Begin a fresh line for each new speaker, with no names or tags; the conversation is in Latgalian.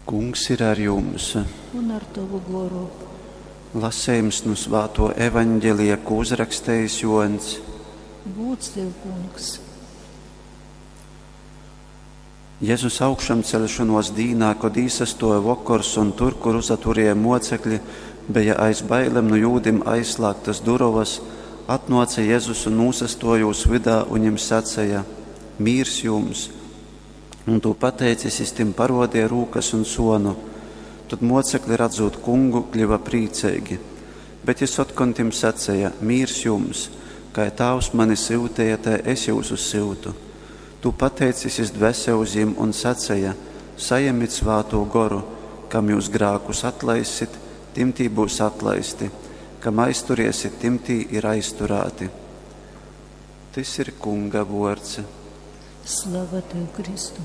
Kungs ir ar jums.
Un ar tovu goru.
Lasījums no Svāto evaņģelija, ko uzrakstījis Joans.
Gūds tev, kungs.
Jēzus augšamcelšanos dīnā, kad īsastoja vokors un tur, kur uzaturēja mocekļi, bija aiz bailēm no jūdim aizslēgtas durovas, atnāca Jēzus un nūsastoja jūs vidā un viņiem sacīja: Mīrs jums! Un to pateicis, jis tim parodīja rūkas un sonu. Tad mocekļi, redzot kungu, kļuva priecīgi. Bet jis otkon tim sacīja: Mīrs jums! Kā tāvs mani syutīja, tai es jūsus syutu. Tu pateicis, jis dvēse uz jim un sacīja: Sajemit svāto goru, kam jūs grākus atlaisit, tim tī būs atlaisti, kam aizturiesit, tim tī ir aizturāti. Tys ir Kunga vords.
Slava tev, Kristu.